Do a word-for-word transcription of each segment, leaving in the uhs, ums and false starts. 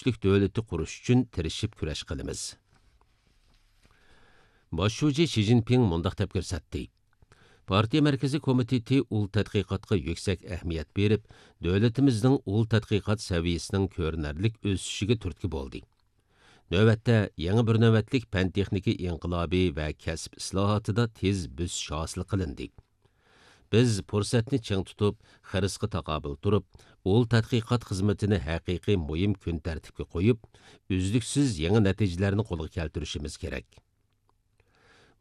كۈچلۈك دۆلىتى قۇرۇش ئۈچۈن تىرىشىپ كۈرەش قىلىمىز. باش شۇجى شى جىنپىڭ مۇنداق دەپ كۆرسەتتى: پارتىيە مەركىزىي كومىتېتى ئۇل تەتقىقاتقا يۈكسەك ئەھمىيەت بېرىپ، دۆلىتىمىزنىڭ ئۇل تەتقىقات سەۋىيەسىنىڭ كۆرۈنەرلىك ئۆسۈشىگە تۈرتكە بولدى. نۆۋەتتە يېڭى بىر نۆۋەتلىك پەن-تېخنىكا ئىنقىلابى ۋە كەسىپ ئىسلاھاتىدا تېز بۆسۈش ھاسىل قىلىندى. بىز پۇرسەتنى چىڭ تۇتۇپ، خىرىسقا تاقابىل تۇرۇپ، ئۇل تەتقىقات خىزمىتىنى ھەقىقىي مۇھىم كۈن تەرتىپكە قويۇپ، ئۈزلۈكسىز يېڭى نەتىجىلەرنى قولغا كەلتۈرۈشىمىز كېرەك.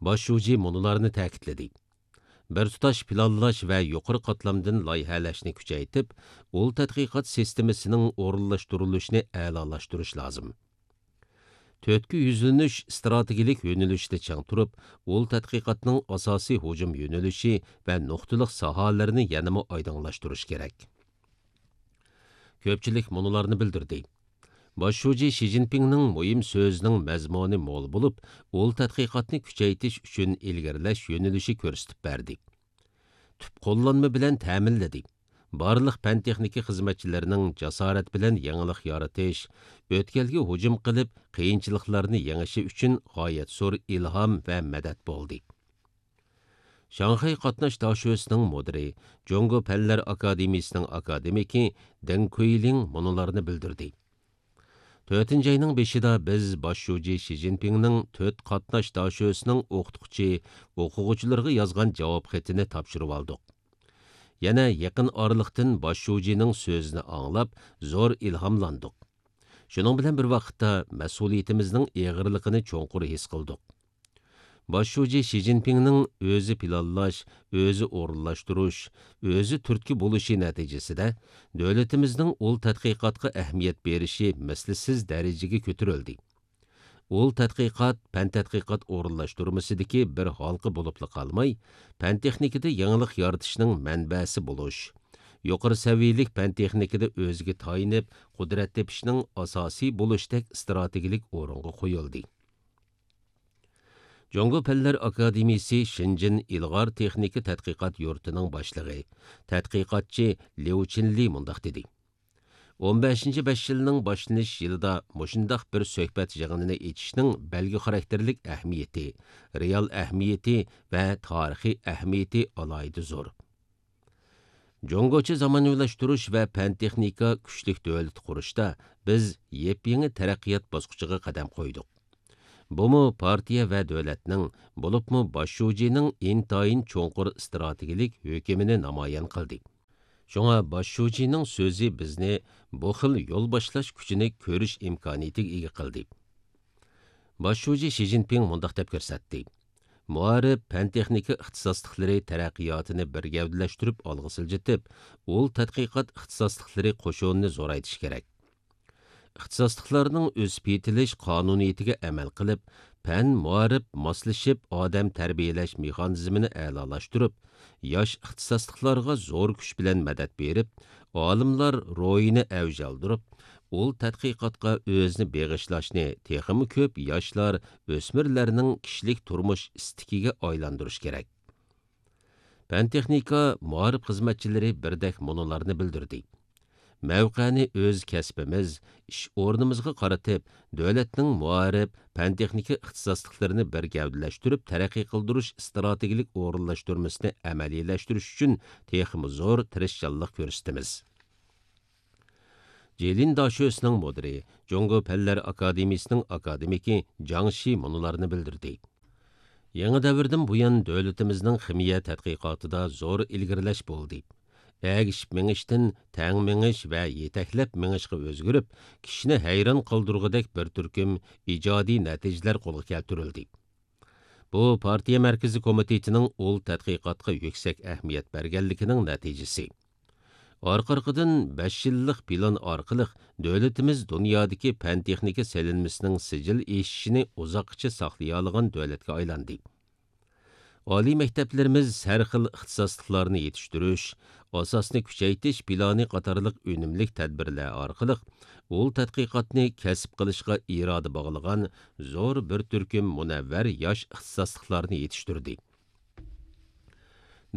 باش شۇجى مۇنۇلارنى تەكىتلىدى: بىر تۇتاش پىلانلاش ۋە يۇقىرى قاتلامدىن لايىھەلەشنى كۈچەيتىپ، ئۇل تەتقىقات سىستېمىسىنىڭ ئورۇنلاشتۇرۇلۇشىنى ئەلالاشتۇرۇش لازىم. تۆتكە يۈزلىنىش ئىستراتېگىيەلىك يۆنىلىشىدە چىڭ تۇرۇپ، ئۇل تەتقىقاتنىڭ ئاساسىي ھۇجۇم يۆنىلىشى ۋە نۇقتىلىق ساھەلىرىنى يەنىمۇ ئايدىڭلاشتۇرۇش كېرەك. كۆپچىلىك مۇنۇلارنى بىلدۈردى: باش شۇجى شى جىنپىڭنىڭ مۇھىم سۆزىنىڭ مەزمۇنى مول بولۇپ، ئۇل تەتقىقاتنى كۈچەيتىش ئۈچۈن ئىلگىرىلەش يۆنىلىشى كۆرسىتىپ بەردى. تۈپ قوللانما بىلەن تەمىنلىدى. بارلىق پەن-تېخنىكا خىزمەتچىلىرىنىڭ جاسارەت بىلەن يېڭىلىق يارىتىش، ئۆتكەلگە ھۇجۇم قىلىپ، قىيىنچىلىقلارنى يېڭىشى ئۈچۈن غايەت زور ئىلھام ۋە مەدەت بولدى. شاڭخەي قاتناش داشۆسىنىڭ مۇدىرى، جۇڭگو پەنلەر ئاكادېمىيىسىنىڭ ئاكادېمىكى دېڭ كۇيلىڭ مۇنۇلارنى بىلدۈردى: تۆتىنچى ئاينىڭ بېشىدا بىز باش شۇجى شى جىنپىڭنىڭ تۆت قاتناش داشۆسىنىڭ ئوقۇتقۇچى، ئوقۇغۇچىلىرىغا يازغان جاۋاب خېتىنى تاپشۇرۇۋالدۇق. يەنە يېقىن ئارىلىقتىن باش شۇجىنىڭ سۆزىنى ئاڭلاپ، زور ئىلھاملاندۇق. شۇنىڭ بىلەن بىر ۋاقىتتا، مەسئۇلىيىتىمىزنىڭ ئېغىرلىقىنى چوڭقۇر ھېس قىلدۇق. باش شۇجى شى جىنپىڭنىڭ ئۆزى پىلانلاش، ئۆزى ئورۇنلاشتۇرۇش، ئۆزى تۈرتكە بولۇشى نەتىجىسىدە، دۆلىتىمىزنىڭ ئۇل تەتقىقاتقا ئەھمىيەت بېرىشى مىسلىسىز دەرىجىگە كۆتۈرۈلدى. ئۇل تەتقىقات پەن تەتقىقات ئورۇنلاشتۇرمىسىدىكى بىر ھالقا بولۇپلا قالماي، پەن تېخنىكىدا يېڭىلىق يارىتىشنىڭ مەنبەسى بولۇش، يۇقىرى سەۋىيەلىك پەن تېخنىكىدا ئۆزىگە تايىنىپ، قۇدرەت تېپىشنىڭ ئاساسىي بولۇشتەك ئىستراتېگىيەلىك ئورۇنغا قويۇلدى. جۇڭگو پەنلەر ئاكادېمىيىسى شېنجېن ئىلغار تېخنىكا تەتقىقات يۇرتىنىڭ باشلىقى، تەتقىقاتچى ليۇ چىنلى مۇنداق دېدى: ئون بەشىنچى بەش يىلنىڭ باشلىنىش يىلىدا مۇشۇنداق بىر سۆھبەت يىغىنىنى ئېچىشنىڭ بەلگە خاراكتېرلىك ئەھمىيىتى، رېئال ئەھمىيىتى ۋە تارىخىي ئەھمىيىتى ئالاھىدە زور. جۇڭگوچە زامانىۋىلاشتۇرۇش ۋە پەن-تېخنىكا كۈچلۈك دۆلىتى قۇرۇشتا بىز يېپيېڭى تەرەققىيات باسقۇچىغا قەدەم قويدۇق. بۇمۇ پارتىيە ۋە دۆلەتنىڭ، بولۇپمۇ باش شۇجىنىڭ ئىنتايىن چوڭقۇر ئىستراتېگىيەلىك ھۆكۈمىنى نامايان قىلدى. شۇڭا باش شۇجىنىڭ سۆزى بىزنى بۇ خىل يول باشلاش كۈچىنى كۆرۈش ئىمكانىيىتىگە ئىگە قىلدى. باش شۇجى شى جىنپىڭ مۇنداق دەپ كۆرسەتتى: مائارىپ، پەن-تېخنىكا ئىختىساسلىقلىرى تەرەققىياتىنى بىر گەۋدىلەشتۈرۈپ ئالغا سىلجىتىپ، ئۇل تەتقىقات ئىختىساسلىقلىرى قوشۇنىنى زورايتىش كېرەك. ئىختىساسلىقلارنىڭ ئۆسۈپ يېتىلىش قانۇنىيىتىگە ئەمەل قىلىپ، پەن، مائارىپ ماسلىشىپ ئادەم تەربىيەلەش مېخانىزمىنى ئەلالاشتۇرۇپ، ياش ئىختىساسلىقلارغا زور كۈچ بىلەن مەدەت بېرىپ، ئالىملار روھىنى ئەۋج ئالدۇرۇپ، ئۇل تەتقىقاتقا ئۆزىنى بېغىشلاشنى تېخىمۇ كۆپ ياشلار، ئۆسمۈرلەرنىڭ كىشىلىك تۇرمۇش ئىستىكىگە ئايلاندۇرۇش كېرەك. پەن-تېخنىكا، مائارىپ خىزمەتچىلىرى بىردەك مۇنۇلارنى بىلدۈردى: مەۋقەنى ئۆز كەسپىمىز، ئىش ئورنىمىزغا قارىتىپ، دۆلەتنىڭ مائارىپ، پەن-تېخنىكا ئىختىساسلىقلىرىنى بىر گەۋدىلەشتۈرۈپ تەرەققىي قىلدۇرۇش ئىستراتېگىيەلىك ئورۇنلاشتۇرمىسىنى ئەمەلىيلەشتۈرۈش ئۈچۈن تېخىمۇ زور تىرىشچانلىق كۆرسىتىمىز. جىلىن داشۆسىنىڭ مۇدىرى، جۇڭگو پەنلەر ئاكادېمىيىسىنىڭ ئاكادېمىكى جاڭ شى مۇنۇلارنى بىلدۈردى: يېڭى دەۋردىن بۇيان، دۆلىتىمىزنىڭ خىمىيە تەتقىقاتىدا زور ئىلگىرىلەش بولدى. ئەگىشىپ مېڭىشتىن تەڭ مېڭىش ۋە يېتەكلەپ مېڭىشقا ئۆزگىرىپ، كىشىنى ھەيران قالدۇرغۇدەك بىر تۈركۈم ئىجادىي نەتىجىلەر قولغا كەلتۈرۈلدى. بۇ پارتىيە مەركىزىي كومىتېتىنىڭ ئۇل تەتقىقاتقا يۈكسەك ئەھمىيەت بەرگەنلىكىنىڭ نەتىجىسى. ئارقا-ئارقىدىن بەش يىللىق پىلان ئارقىلىق دۆلىتىمىز دۇنيادىكى پەن-تېخنىكا سېلىنمىسىنىڭ سىجىل ئېشىشىنى ئۇزاققىچە ساقلىيالىغان دۆلەتكە ئايلاندى. ئالىي مەكتەپلىرىمىز ھەر خىل ئىختىساسلىقلارنى يېتىشتۈرۈش، ئاساسنى كۈچەيتىش پىلانى قاتارلىق ئۈنۈملۈك تەدبىرلەر ئارقىلىق ئۇل تەتقىقاتنى كەسىپ قىلىشقا ئىرادە باغلىغان زور بىر تۈركۈم مۇنەۋۋەر ياش ئىختىساسلىقلارنى يېتىشتۈردى.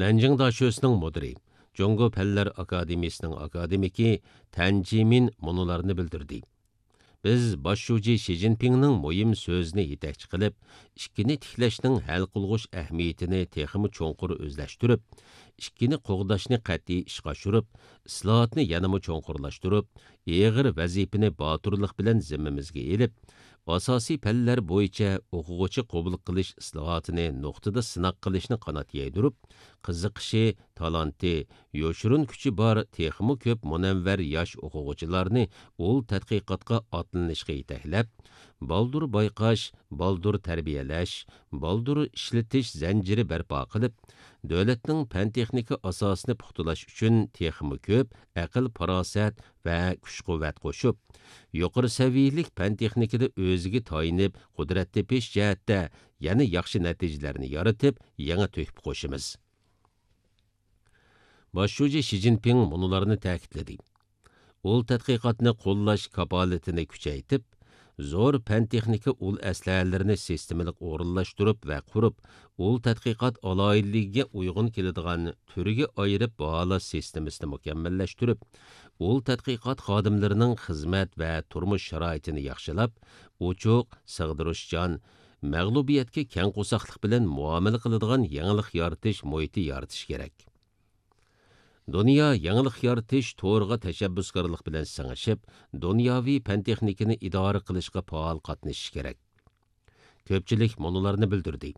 نەنجىڭ داشۆسىنىڭ مۇدىرى، جۇڭگو پەنلەر ئاكادېمىيىسىنىڭ ئاكادېمىكى تەن جىمىن مۇنۇلارنى بىلدۈردى: بىز باش شۇجى شى جىنپىڭنىڭ مۇھىم سۆزىنى يېتەكچى قىلىپ، ئىككىنى تىكلەشنىڭ ھەل قىلغۇچ ئەھمىيىتىنى تېخىمۇ چوڭقۇر ئۆزلەشتۈرۈپ، ئىككىنى قوغداشنى قەتئىي ئىشقا ئاشۇرۇپ، ئىسلاھاتنى يەنىمۇ چوڭقۇرلاشتۇرۇپ، ئېغىر ۋەزىپىنى باتۇرلۇق بىلەن زىممىمىزگە ئېلىپ، ئاساسىي پەنلەر بويىچە ئوقۇغۇچى قوبۇل قىلىش ئىسلاھاتىنى نۇقتىدا سىناق قىلىشنى قانات يايدۇرۇپ، قىزىقىشى، تالانتى، يوشۇرۇن كۈچى بار تېخىمۇ كۆپ مۇنەۋۋەر ياش ئوقۇغۇچىلارنى ئۇل تەتقىقاتقا ئاتلىنىشقا يېتەكلەپ، بالدۇر بايقاش، بالدۇر تەربىيەلەش، بالدۇر ئىشلىتىش زەنجىرى بەرپا قىلىپ، دۆلەتنىڭ پەن-تېخنىكا ئاساسىنى پۇختىلاش ئۈچۈن تېخىمۇ كۆپ ئەقىل-پاراسەت ۋە كۈچ-قۇۋۋەت قوشۇپ، يۇقىرى سەۋىيەلىك پەن-تېخنىكىدا ئۆزىگە تايىنىپ، قۇدرەت تېپىش جەھەتتە يەنە ياخشى نەتىجىلەرنى يارىتىپ، يېڭى تۆھپە قوشىمىز. باش شۇجى شى جىنپىڭ مۇنۇلارنى تەكىتلىدى: ئۇل تەتقىقاتنى قوللاش كاپالىتىنى كۈچەيتىپ، زور پەن-تېخنىكا ئۇل ئەسلىھەلىرىنى سىستېمىلىق ئورۇنلاشتۇرۇپ ۋە قۇرۇپ، ئۇل تەتقىقات ئالاھىدىلىكىگە ئۇيغۇن كېلىدىغان تۈرگە ئايرىپ باھالاش سىستېمىسىنى مۇكەممەللەشتۈرۈپ، ئۇل تەتقىقات خادىملىرىنىڭ خىزمەت ۋە تۇرمۇش شارائىتىنى ياخشىلاپ، ئوچۇق، سىغدۇرۇشچان، مەغلۇبىيەتكە كەڭ قورساقلىق بىلەن مۇئامىلە قىلىدىغان يېڭىلىق يارىتىش مۇھىتى يارىتىش كېرەك. دۇنيا يېڭىلىق يارىتىش تورىغا تەشەببۇسكارلىق بىلەن سىڭىشىپ، دۇنياۋى پەن-تېخنىكىنى ئىدارە قىلىشقا پائال قاتنىشىش كېرەك. كۆپچىلىك مۇنۇلارنى بىلدۈردى: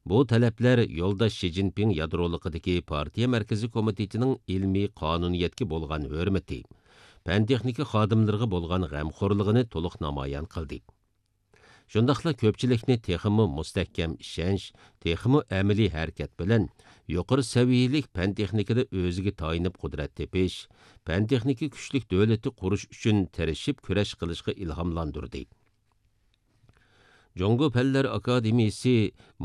بۇ تەلەپلەر يولداش شى جىنپىڭ يادرولۇقىدىكى پارتىيە مەركىزىي كومىتېتىنىڭ ئىلمىي قانۇنىيەتكە بولغان ھۆرمىتى، پەن-تېخنىكا خادىملىرىغا بولغان غەمخورلۇقىنى تولۇق نامايان قىلدى. شۇنداقلا كۆپچىلىكنى تېخىمۇ مۇستەھكەم ئىشەنچ، تېخىمۇ ئەمەلىي ھەرىكەت بىلەن يۇقىرى سەۋىيەلىك پەن-تېخنىكىدا ئۆزىگە تايىنىپ قۇدرەت تېپىش، پەن-تېخنىكا كۈچلۈك دۆلىتى قۇرۇش ئۈچۈن تىرىشىپ كۈرەش قىلىشقا ئىلھاملاندۇردى. جۇڭگو پەنلەر ئاكادېمىيىسى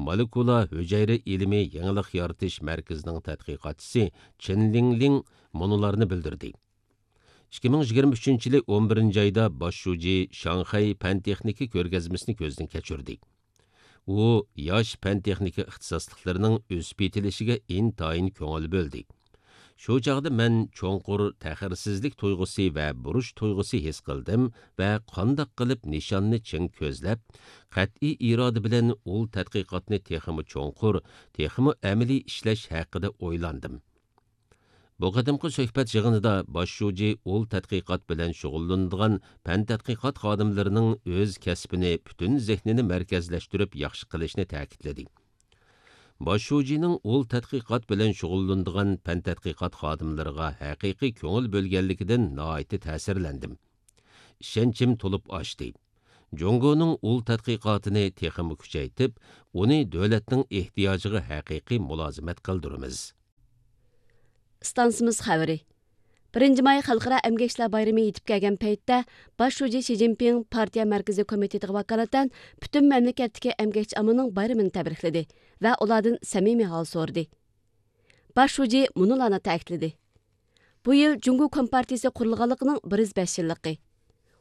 مولېكۇلا ھۈجەيرە ئىلمى يېڭىلىق يارىتىش مەركىزىنىڭ تەتقىقاتچىسى چېن لىڭلىڭ مۇنۇلارنى بىلدۈردى: ئىككى مىڭ يىگىرمە ئۈچىنچى يىلى ئون بىرىنچى ئايدا باش شۇجى شاڭخەي پەن-تېخنىكا كۆرگەزمىسىنى كۆزدىن كەچۈردى. ئۇ ياش پەن-تېخنىكا ئىختىساسلىقلىرىنىڭ ئۆسۈپ يېتىلىشىگە ئىنتايىن كۆڭۈل بۆلدى. شۇ چاغدا مەن چوڭقۇر تەخىرسىزلىك تۇيغۇسى ۋە بۇرچ تۇيغۇسى ھېس قىلدىم ۋە قانداق قىلىپ نىشاننى چىڭ كۆزلەپ، قەتئىي ئىرادە بىلەن ئۇل تەتقىقاتنى تېخىمۇ چوڭقۇر، تېخىمۇ ئەمەلىي ئىشلەش ھەققىدە ئويلاندىم. بۇ قېتىمقى سۆھبەت يىغىنىدا باش شۇجى ئۇل تەتقىقات بىلەن شۇغۇللىنىدىغان پەن تەتقىقات خادىملىرىنىڭ ئۆز كەسپىنى پۈتۈن زېھنىنى مەركەزلەشتۈرۈپ ياخشى قىلىشنى تەكىتلىدى. باش شۇجىنىڭ ئۇل تەتقىقات بىلەن شۇغۇللىنىدىغان پەن تەتقىقات خادىملىرىغا ھەقىقىي كۆڭۈل بۆلگەنلىكىدىن ناھايىتى تەسىرلەندىم. ئىشەنچىم تولۇپ ئاشتى. جۇڭگونىڭ ئۇل تەتقىقاتىنى تېخىمۇ كۈچەيتىپ، ئۇنى دۆلەتنىڭ ئېھتىياجىغا ھەقىقىي مۇلازىمەت قىلدۇرىمىز. ئىستانسىمىز خەۋىرى. بىرىنچى ماي خەلقئارا ئەمگەكچىلەر بايرىمى يېتىپ كەلگەن پەيتتە، باش شۇجى شى جىنپىڭ پارتىيە مەركىزىي كومىتېتىغا ۋاكالىتەن پۈتۈن مەملىكەتتىكى ئەمگەكچى ئاممىنىڭ بايرىمىنى تەبرىكلىدى ۋە ئۇلاردىن سەمىمىي ھال سورىدى. باش شۇجى مۇنۇلارنى تەكىتلىدى: بۇ يىل جۇڭگو كومپارتىيىسى قۇرۇلغانلىقىنىڭ بىر يۈز بەش يىللىقى،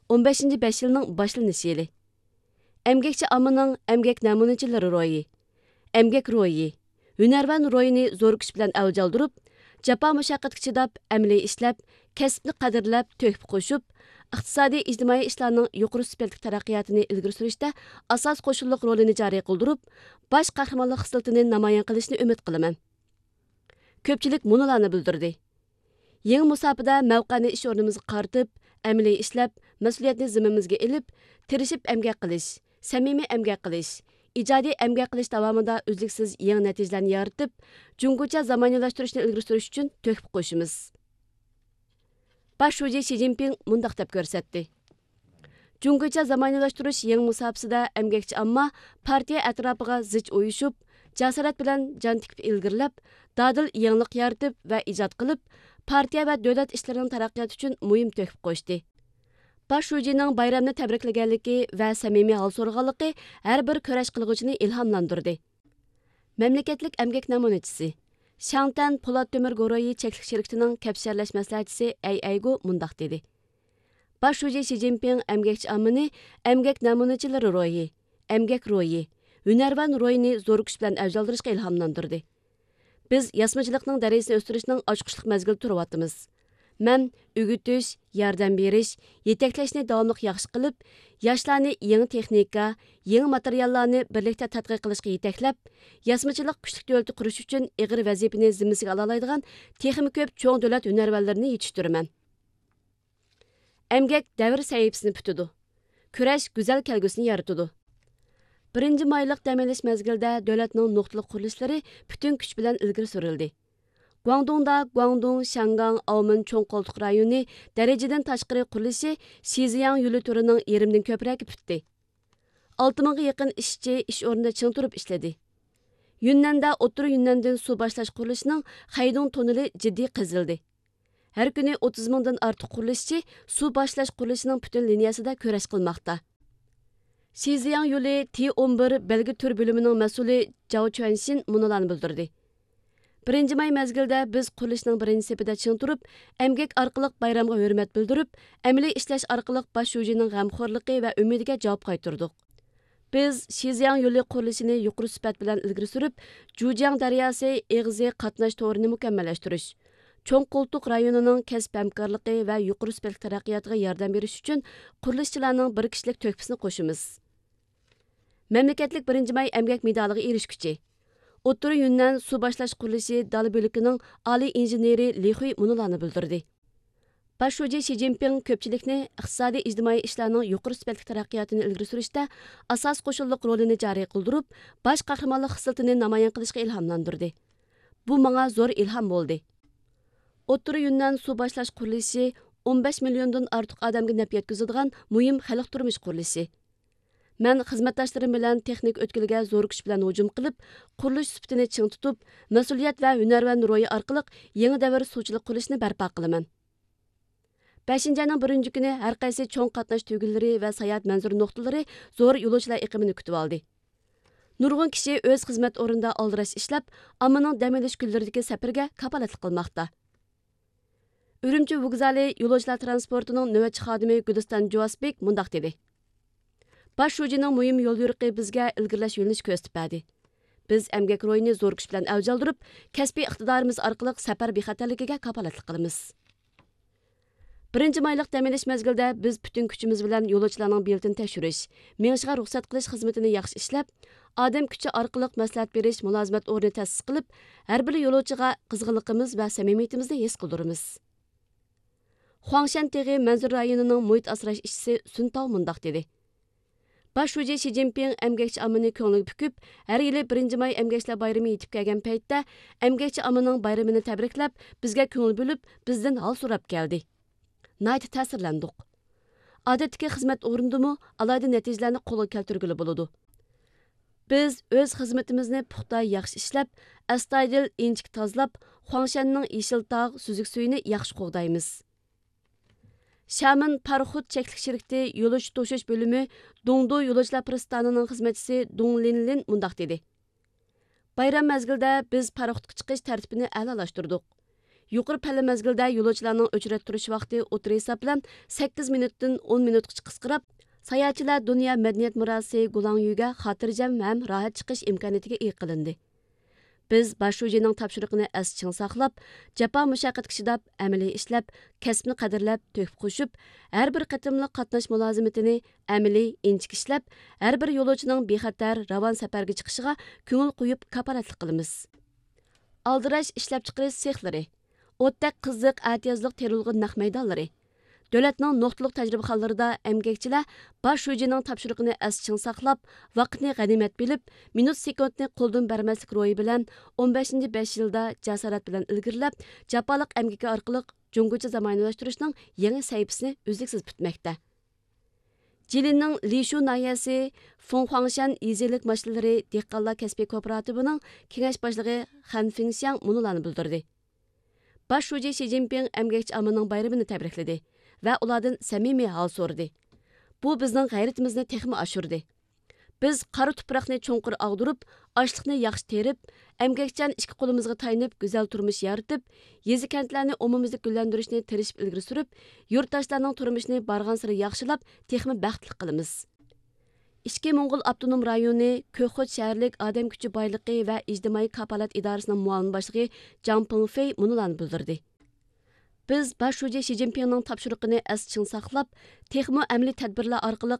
ئون بەشىنچى بەش يىلنىڭ باشلىنىش يىلى. ئەمگەكچى ئاممىنىڭ ئەمگەك نەمۇنىچىلىرى روھى، ئەمگەك روھى، ھۈنەرۋەن روھىنى زور كۈچ بىلەن ئەۋج ئالدۇرۇپ، جاپا مۇشەققەتكە چىداپ، ئەمەلىي ئىشلەپ، كەسىپنى قەدىرلەپ، تۆھپە قوشۇپ، ئىقتىسادىي، ئىجتىمائىي ئىشلارنىڭ يۇقىرى سۈپەتلىك تەرەققىياتىنى ئىلگىرى سۈرۈشتە ئاساس قوشۇنلۇق رولىنى جارى قىلدۇرۇپ، باش قەھرىمانلىق خىسلىتىنى نامايان قىلىشىنى ئۈمىد قىلىمەن. كۆپچىلىك مۇنۇلارنى بىلدۈردى: يېڭى مۇساپىدە مەۋقەنى ئىش ئورنىمىزغا قارىتىپ، ئەمەلىي ئىشلەپ، مەسئۇلىيەتنى زىممىمىزگە ئېلىپ، تىرىشىپ ئەمگەك قىلىش، سەمىمىي ئەمگەك قىلىش، ئىجادىي ئەمگەك قىلىش داۋامىدا ئۈزلۈكسىز يېڭى نەتىجىلەرنى يارىتىپ، جۇڭگوچە زامانىۋىلاشتۇرۇشنى ئىلگىرى سۈرۈش ئۈچۈن تۆھپە قوشىمىز. باش شۇجى شى جىنپىڭ مۇنداق دەپ كۆرسەتتى: جۇڭگوچە زامانىۋىلاشتۇرۇش يېڭى مۇساپىسىدە ئەمگەكچى ئامما پارتىيە ئەتراپىغا زىچ ئۇيۇشۇپ، جاسارەت بىلەن جان تىكىپ ئىلگىرىلەپ، دادىل يېڭىلىق يارىتىپ ۋە ئىجاد قىلىپ، پارتىيە ۋە دۆلەت ئىشلىرىنىڭ تەرەققىياتى ئۈچۈن مۇھىم تۆھپە قوشتى. باش شۇجىنىڭ بايرامنى تەبرىكلىگەنلىكى ۋە سەمىمىي ھال سورىغانلىقى ھەر بىر كۈرەش قىلغۇچىنى ئىلھاملاندۇردى. مەملىكەتلىك ئەمگەك نەمۇنىچىسى، شياڭتەن پولات تۆمۈر گۇرۇھى چەكلىك شىركىتىنىڭ كەپشەرلەش مەسلىھەتچىسى ئەي ئەيگو مۇنداق دېدى: باش شۇجى شى جىنپىڭ ئەمگەكچى ئاممىنى ئەمگەك نەمۇنىچىلىرى روھى، ئەمگەك روھى، ھۈنەرۋەن روھىنى زور كۈچ بىلەن ئەۋج ئالدۇرۇشقا ئىلھاملاندۇردى. بىز ياسىمىچىلىقنىڭ دەرىجىسىنى ئۆستۈرۈشنىڭ ئاچقۇچلۇق مەزگىلىدە تۇرۇۋاتىمىز. مەن ئۆگىتىش، ياردەم بېرىش، يېتەكلەشنى داۋاملىق ياخشى قىلىپ، ياشلارنى يېڭى تېخنىكا، يېڭى ماتېرىياللارنى بىرلىكتە تەتقىق قىلىشقا يېتەكلەپ، ياسىمىچىلىق كۈچلۈك دۆلىتى قۇرۇش ئۈچۈن ئېغىر ۋەزىپىنى زىممىسىگە ئالالايدىغان تېخىمۇ كۆپ چوڭ دۆلەت ھۈنەرۋەنلىرىنى يېتىشتۈرىمەن. ئەمگەك دەۋر سەھىپىسىنى پۈتىدۇ. كۈرەش گۈزەل كەلگۈسىنى يارىتىدۇ. بىرىنچى مايلىق دەم ئېلىش مەزگىلىدە دۆلەتنىڭ نۇقتىلىق قۇرۇلۇشلىرى پۈتۈن كۈچ بىلەن ئىلگىرى سۈرۈلدى. گۇاڭدۇڭدا گۇاڭدۇڭ، شياڭگاڭ، ئاۋمېن چوڭ قولتۇق رايونى دەرىجىدىن تاشقىرى قۇرۇلۇشى شىزياڭ يولى تۈرىنىڭ يېرىمدىن كۆپرەكى پۈتتى. ئالتە مىڭغا يېقىن ئىشچى ئىش ئورنىدا چىڭ تۇرۇپ ئىشلىدى. يۈننەندە ئوتتۇرا يۈننەندىن سۇ باشلاش قۇرۇلۇشىنىڭ خەيدۇڭ توننېلى جىددىي قېزىلدى. ھەر كۈنى ئوتتۇز مىڭدىن ئارتۇق قۇرۇلۇشچى سۇ باشلاش قۇرۇلۇشىنىڭ پۈتۈن لىنىيەسىدە كۈرەش قىلماقتا. شىزياڭ يولى تى ئون بىر بەلگە تۈر بۆلۈمىنىڭ مەسئۇلى جاۋ چۈەنشىن مۇنۇلارنى بىلدۈردى: بىرىنچى ماي مەزگىلىدە بىز قۇرۇلۇشنىڭ بىرىنچى سېپىدە چىڭ تۇرۇپ، ئەمگەك ئارقىلىق بايرامغا ھۆرمەت بىلدۈرۈپ، ئەمەلىي ئىشلەش ئارقىلىق باش شۇجىنىڭ غەمخورلۇقى ۋە ئۈمىدىگە جاۋاب قايتۇردۇق. بىز شىزياڭ يولى قۇرۇلۇشىنى يۇقىرى سۈپەت بىلەن ئىلگىرى سۈرۈپ، جۇجياڭ دەرياسى ئېغىزى قاتناش تورىنى مۇكەممەللەشتۈرۈش، چوڭ قولتۇق رايونىنىڭ كەسىپ ھەمكارلىقى ۋە يۇقىرى سۈپەتلىك تەرەققىياتىغا ياردەم بېرىش ئۈچۈن قۇرۇلۇشچىلارنىڭ بىر كىشىلىك تۆھپىسىنى قوشىمىز. مەملىكەتلىك بىرىنچى ماي ئەمگەك مېدالىغا ئېرىشكۈچى، ئوتتۇرا يۈننەن سۇ باشلاش قۇرۇلۇشى دالە بۆلىكىنىڭ ئالىي ئىنژېنېرى لى خۇي مۇنۇلارنى بىلدۈردى: باش شۇجى شى جىنپىڭ كۆپچىلىكنى ئىقتىسادىي ئىجتىمائىي ئىشلارنىڭ يۇقىرى سۈپەتلىك تەرەققىياتىنى ئىلگىرى سۈرۈشتە ئاساسىي قوشۇنلۇق رولىنى جارى قىلدۇرۇپ، باش قەھرىمانلىق خىسلىتىنى نامايان قىلىشقا ئىلھاملاندۇردى. بۇ ماڭا زور ئىلھام بولدى. ئوتتۇرا يۈننەن سۇ باشلاش قۇرۇلۇشى ئون بەش مىليوندىن ئارتۇق ئادەمگە نەپ يەتكۈزىدىغان مۇھىم خەلق تۇرمۇش قۇرۇلۇشى. مەن خىزمەتداشلىرىم بىلەن تېخنىكا ئۆتكىلىگە زور كۈچ بىلەن ھۇجۇم قىلىپ، قۇرۇلۇش سۈپىتىنى چىڭ تۇتۇپ، مەسئۇلىيەت ۋە ھۈنەرۋەن روھى ئارقىلىق يېڭى دەۋر سۇچىلىق قۇرۇلۇشىنى بەرپا قىلىمەن. بەشىنچى ئاينىڭ بىرىنچى كۈنى ھەر قايسى چوڭ قاتناش تۈگۈنلىرى ۋە ساياھەت مەنزىرە نۇقتىلىرى زور يولۇچىلار ئېقىمىنى كۈتۈۋالدى. نۇرغۇن كىشى ئۆز خىزمەت ئورنىدا ئالدىراش ئىشلەپ، ئاممىنىڭ دەم ئېلىش كۈنلىرىدىكى سەپىرىگە كاپالەتلىك قىلماقتا. ئۈرۈمچى ۋوگزالى يولۇچىلار ترانسپورتىنىڭ نۆۋەتچى خادىمى گۈلىستان جۇۋاسبېك مۇنداق دېدى: باش شۇجىنىڭ مۇھىم يوليورۇقى بىزگە ئىلگىرىلەش يۆنىلىشى كۆرسىتىپ بەردى. بىز ئەمگەك روھىنى زور كۈچ بىلەن ئەۋج ئالدۇرۇپ، كەسپىي ئىقتىدارىمىز ئارقىلىق سەپەر بىخەتەرلىكىگە كاپالەتلىك قىلىمىز. بىرىنچى مايلىق دەم ئېلىش مەزگىلىدە بىز پۈتۈن كۈچىمىز بىلەن يولۇچىلارنىڭ بېلىتىنى تەكشۈرۈش، مېڭىشىغا رۇخسەت قىلىش خىزمىتىنى ياخشى ئىشلەپ، ئادەم كۈچى ئارقىلىق مەسلىھەت بېرىش مۇلازىمەت ئورنى تەسىس قىلىپ، ھەر بىر يولۇچىغا قىزغىنلىقىمىز ۋە سەمىمىيىتىمىزنى ھېس قىلدۇرىمىز. خۇاڭشەن تېغى مەنزىرە رايونىنىڭ مۇھىت ئاسراش ئىشچىسى سۈن تاۋ مۇنداق دېدى: باش شۇجى شى جىنپىڭ ئەمگەكچى ئاممىنى كۆڭلىگە پۈكۈپ، ھەر يىلى بىرىنچى ماي ئەمگەكچىلەر بايرىمى يېتىپ كەلگەن پەيتتە، ئەمگەكچى ئاممىنىڭ بايرىمىنى تەبرىكلەپ، بىزگە كۆڭۈل بۆلۈپ، بىزدىن ھال سوراپ كەلدى. ناھايىتى تەسىرلەندۇق. ئادەتتىكى خىزمەت ئورنىدىمۇ ئالاھىدە نەتىجىلەرنى قولغا كەلتۈرگىلى بولىدۇ. بىز ئۆز خىزمىتىمىزنى پۇختا، ياخشى ئىشلەپ، ئەستايىدىل، ئىنچىكە تازىلاپ، خۇاڭشەننىڭ يېشىل تاغ، سۈزۈك سۈيىنى ياخشى قوغدايمىز. شامېن پاراخوت چەكلىك شىركىتى يولۇچى توشۇش بۆلۈمى دۇڭدۇ يولۇچىلار پىرىستانىنىڭ خىزمەتچىسى دۇڭ لىنلىن مۇنداق دېدى: بايرام مەزگىلىدە بىز پاراخوتقا چىقىش تەرتىپىنى ئەلالاشتۇردۇق. يۇقىرى پەللە مەزگىلىدە يولۇچىلارنىڭ ئۆچرەتتە تۇرۇش ۋاقتى ئوتتۇرا ھېساب بىلەن سەككىز مىنۇتتىن ئون مىنۇتقىچە قىسقىراپ، ساياھەتچىلەر دۇنيا مەدەنىيەت مىراسى گۇلاڭيۈگە خاتىرجەم ھەم راھەت چىقىش ئىمكانىيىتىگە ئىگە قىلىندى. بىز باش شۇجىنىڭ تاپشۇرۇقىنى ئەستە چىڭ ساقلاپ، جاپا مۇشەققەتكە چىداپ، ئەمەلىي ئىشلەپ، كەسىپنى قەدىرلەپ، تۆھپە قوشۇپ، ھەر بىر قېتىملىق قاتناش مۇلازىمىتىنى ئەمەلىي، ئىنچىكە ئىشلەپ، ھەر بىر يولۇچىنىڭ بىخەتەر، راۋان سەپەرگە چىقىشىغا كۆڭۈل قويۇپ كاپالەتلىك قىلىمىز. ئالدىراش ئىشلەپچىقىرىش سېخلىرى، ئوتتەك قىزىق، ئەتىيازلىق تېرىلغۇ نەق مەيدانلىرى، دۆلەتنىڭ نۇقتىلىق تەجرىبىخانىلىرىدا ئەمگەكچىلەر باش شۇجىنىڭ تاپشۇرۇقىنى ئەستە چىڭ ساقلاپ، ۋاقىتنى غەنىيمەت بىلىپ، مىنۇت سېكۇنتنى قولدىن بەرمەسلىك روھى بىلەن ئون بەشىنچى بەش يىلدا جاسارەت بىلەن ئىلگىرىلەپ، جاپالىق ئەمگىكى ئارقىلىق جۇڭگوچە زامانىۋىلاشتۇرۇشنىڭ يېڭى سەھىپىسىنى ئۈزلۈكسىز پۈتمەكتە. جىلىننىڭ لىشۇ ناھىيەسى فېڭخۇاڭشەن يېزا ئىگىلىك ماشىنىلىرى دېھقانلار كەسپىي كوپىراتىپىنىڭ كېڭەش باشلىقى خەن فېڭشياڭ مۇنۇلارنى بىلدۈردى: باش شۇجى شى جىنپىڭ ئەمگەكچى ئاممىنىڭ بايرىمىنى تەبرىكلىدى ۋە ئۇلاردىن سەمىمىي ھال سورىدى. بۇ بىزنىڭ غەيرىتىمىزنى تېخىمۇ ئاشۇردى. بىز قارا تۇپراقنى چوڭقۇر ئاغدۇرۇپ، ئاشلىقنى ياخشى تېرىپ، ئەمگەكچان ئىككى قولىمىزغا تايىنىپ، گۈزەل تۇرمۇش يارىتىپ، يېزا-كەنتلەرنى ئومۇميۈزلۈك گۈللەندۈرۈشنى تىرىشىپ ئىلگىرى سۈرۈپ، يۇرتداشلارنىڭ تۇرمۇشىنى بارغانسېرى ياخشىلاپ، تېخىمۇ بەختلىك قىلىمىز. ئىچكى موڭغۇل ئاپتونوم رايونى كۆكخوت شەھەرلىك ئادەم كۈچى بايلىقى ۋە ئىجتىمائىي كاپالەت ئىدارىسىنىڭ مۇئاۋىن باشلىقى جاڭ پېڭفېي مۇنۇلارنى بىلدۈردى: بىز باش شۇجى شى جىنپىڭنىڭ تاپشۇرۇقىنى ئەستە چىڭ ساقلاپ، تېخىمۇ ئەمەلىي تەدبىرلەر ئارقىلىق